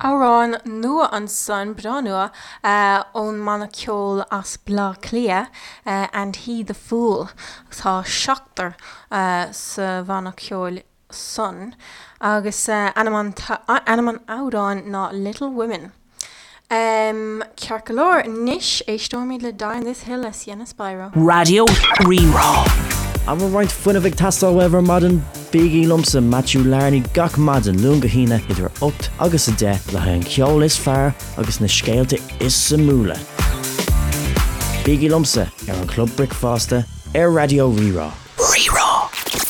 Amhrán nua ansan, breá nua, ón mbanna ceoil as Bleá Cliath, And He The Fool. Tá seachtar sa bhanna ceoil san agus ainm an amhráin ná Little Women. Ceart go leor, anois éisteoimid le Die on This Hill le Sienna Spiro. Raidió Rí-Rá. An bhfuil roinnt fuinnimh ag teastáil uaibh ar maidin? Bígí liomsa, Matthew Larney, gach maidin, Luan go hAoine, idir 8 agus 10, le haghaidh an cheoil is fearr agus na scéalta is suimiúla. Bígí liomsa ar an Chlub Bricfeasta ar Raidió Rí-Rá.